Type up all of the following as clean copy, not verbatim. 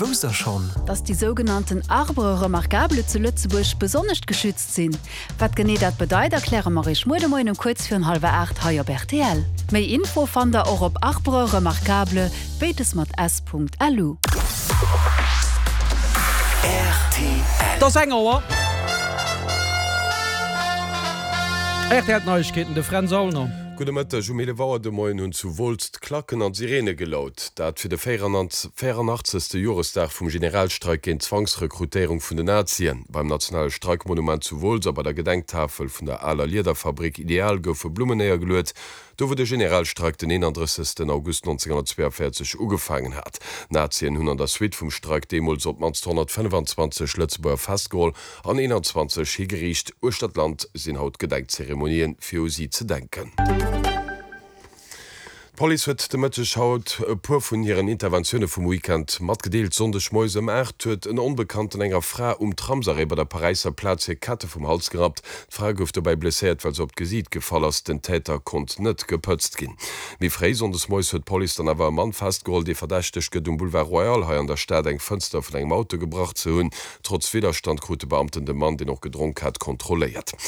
Wousst der schonn? Dass déi sougenannten Arbres remarquables zu Lëtzebuerg besonnescht geschützt sinn. Wat genee dat bedeit, erkläre mer iech muer de Moien um kuerz virun hallwer 8 hei op rtl. Méi Info fannt der och op arbresremarquables, béides mat s.lu. Et ass eng Auer. Rtl Neiegkeeten, de Fränz Aulner. Gudde Mëtteg. Um 11 Auer de Moien hunn zu Wolz d'Klacken an d'Sireene gelaut. Dat fir de 84. Joresdag vum Generalstreik géint d'Zwangsrekrutéierung vun den Nazien. Beim nationale Streikmonument zu Wolz a bei der Gedenktafel vun der aler Liederfabrik Ideal goufe Blummen néiergeluet, do wou de Generalstreik den 31. August 1942 ugefaangen hat. D'Nazien hunn an der Suite vum Streik deemools op d'mannst 125 Lëtzebuerger festgeholl an 21 higeriicht. Uechter d'Land sinn haut Gedenkzeremonien, fir u si ze denken. D'Police huet de Mëtteg haut e puer vun hiren Interventioune vum Weekend matgedeelt. Sonndeg moies ëm 8 huet en Onbekannten enger Fra um Tramsarrêt bei der Paräisser Plaz hir Kette vum Hals gerappt. D'Fra gouf dobäi blesséiert, well se op d'Gesiit gefall ass. Den Täter konnt net gepëtzt ginn. Méi fréi sonndes moies huet d'Police dann awer e Mann festgeholl, dee verdächtegt gëtt, um Boulevard Royal hei an der Stad eng Fënster vun engem Auto gebrach ze hunn. Trotz Widderstand krute Beamten de Mann, deen och gedronk hat, kontrolléiert.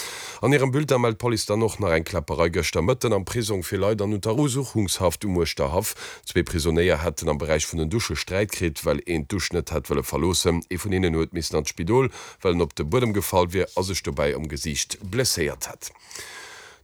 An hirem Bulletin mellt d'Police dann och nach eng Kläpperei gëschter Mëtten am Prisong fir Leit an Unterusuchungshaft um Uerschterhaff. Zwee Prisonéier hätten am Beräich vun den Dusche Sträit kritt, well een d'Dusch net hätt wëlle verloossen. Ee vun hinnen huet missen an d'Spidol, well en op de Buedem gefall wier a sech dobäi am Gesiicht blesséiert hätt.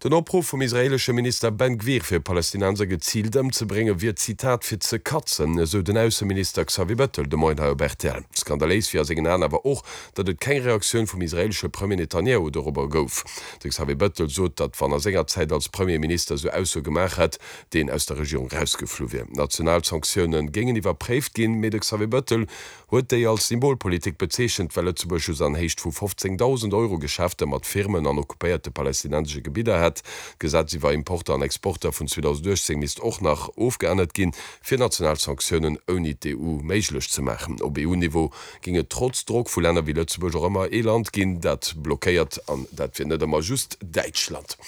Den Opruff vum israeelesche Minister Ben Gvir fir Palästinenser geziilt ëmzebrénge wier, Zitat, fir ze katzen, esou den Ausseminister Xavier Bettel de Moien hei op rtl. Skandaléis wier a sengen Aen awer och, datt et keng Reaktioun vum israeelesche Premier Netanjahu dorobber gouf. De Xavier Bettel sot, datt wann a senger Zäit als Premierminister esou Aussoe gemaach hätt, deen aus der Regierung rausgeflu wier. National Sanktioune géingen iwwerpréift ginn, mee de Xavier Bettel huet déi als Symbolpolitik bezeechent, well Lëtzebuerg just an Héicht vu 15.000 Euro Geschäfter mat Firmen an occupéierte palästinensesche Gebidder hätt. D'Gesetz iwwer Importer an Exporter vun 2018 misst och nach ofgeännert ginn, fir national Sanktiounen ouni d'EU méiglech ze maachen. Op EU-Niveau géing et trotz Drock vu Länner wéi Lëtzebuerg och ëmmer ee Land ginn, dat blockéiert, an dat wier net ëmmer just Däitschland.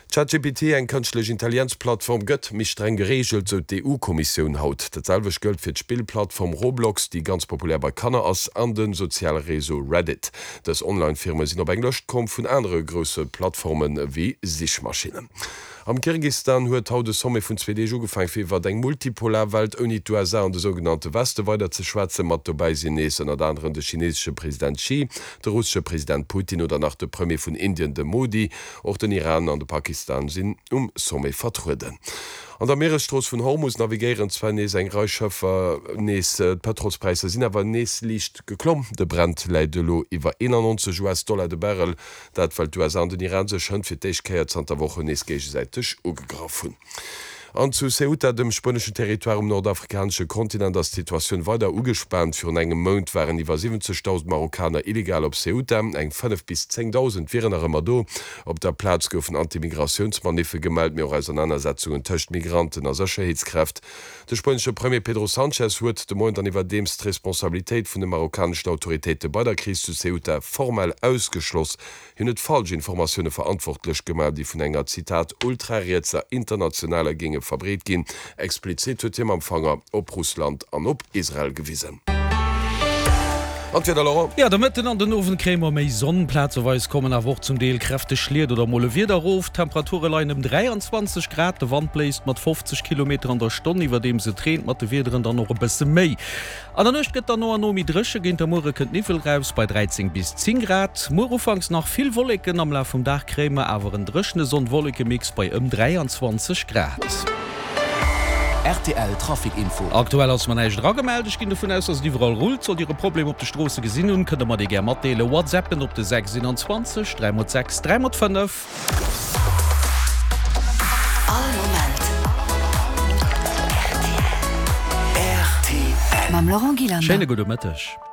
ChatGPT, eng kënschtlech Intelligenz-Plattform, gëtt méi streng gereegelt, sou d'EU-Kommissioun haut. Dat selwecht gëllt fir d'Spillplattform Roblox, déi ganz populär bei Kanner ass, an de soziale Réseau Reddit. Dës Online-Firme sinn op eng Lëscht komm vun anere grousse Plattforme wéi Sichmaschinnen. Am Kirgistan huet haut e Sommet vun zwee Deeg ugefaang, fir iwwert eng multipolar Welt ouni d'USA an de sougenannte Weste weider ze schwätzen. Mat dobäi sinn nees ënnert aneren de chinesesche President Xi, de russesche President Putin oder nach de Premier vun Indien, de Modi. Och den Iran an de Pakistan sinn um Sommet vertrueden. An der Mieresstrooss vun Hormus navigéieren zwar nees eng Rei Schëffer nees, d'Pëtrolspräisser sinn awer nees liicht geklomm. De Brent läit elo iwwer 91 US-Dollar de Barrel, dat well d'USA an den Iran sech hënt fir d'éischt Kéier zanter Wochen nees géigesäiteg ugegraff hunn. An zu Ceuta, dem spueneschen Territoire um nordafrikanesche Kontinent, ass d'Situatioun weider ugespaant. Virun engem Mount waren iwwer 70.000 Marokkaner illegal op Ceuta, eng 5 bis 10.000 wieren nach ëmmer do. Op der Plaz goufen Anti-Migratiounsmaniffe gemellt, mee och Ausernanersetzungen tëscht Migranten a Sécherheetskräft. De spuenesche Premier Pedro Sanchez huet de Moien dann iwwerdeems d'Responsabilitéit vun de marokkaneschen Autoritéite bei der Kris zu Ceuta formell ausgeschloss. Hien huet falsch Informatioune verantwortlech gemaach, déi vun enger, Zitat, ultrarietser Internationale géinge verbreet ginn. Explizit huet hie mam Fanger op Russland an op Israel gewisen. An d'Wieder, Laurent? Jo, de Mëtten an den Owend kréie mer méi Sonn, plazeweis kommen awer och zum Deel kräfteg Schliet oder mol e Wieder erof. D'Temperature leien ëm 23 Grad, de Wand bléist mat 50 Kilometer an der Stonn, iwwerdeems et reent, mat de Wiederen dann och e bësse méi. An der Nuecht gëtt dann no an no méi dréche, géint der Muere kënnt Niwwel raus bei 13 bis 10 Grad. Muer ufanks nach vill Wolleken, am Laf vum Dag kréie mer awer en dréchene Sonn-Wolleke-Mix bei ëm 23 Grad. Rtl Trafic Info. Aktuell ass mer näischt eragemellt. Ech ginn dovun aus, dass et iwwerall rullt. Sollt Dir e Problem op de Stroosse gesinn hunn, kënnt der mer dee gär matdeelen. WhatsAppen op de 6 21 3 x 6 3 x 5. All Moment rtl. Mam Laurent Gillander. Schéine gudde Mëtteg.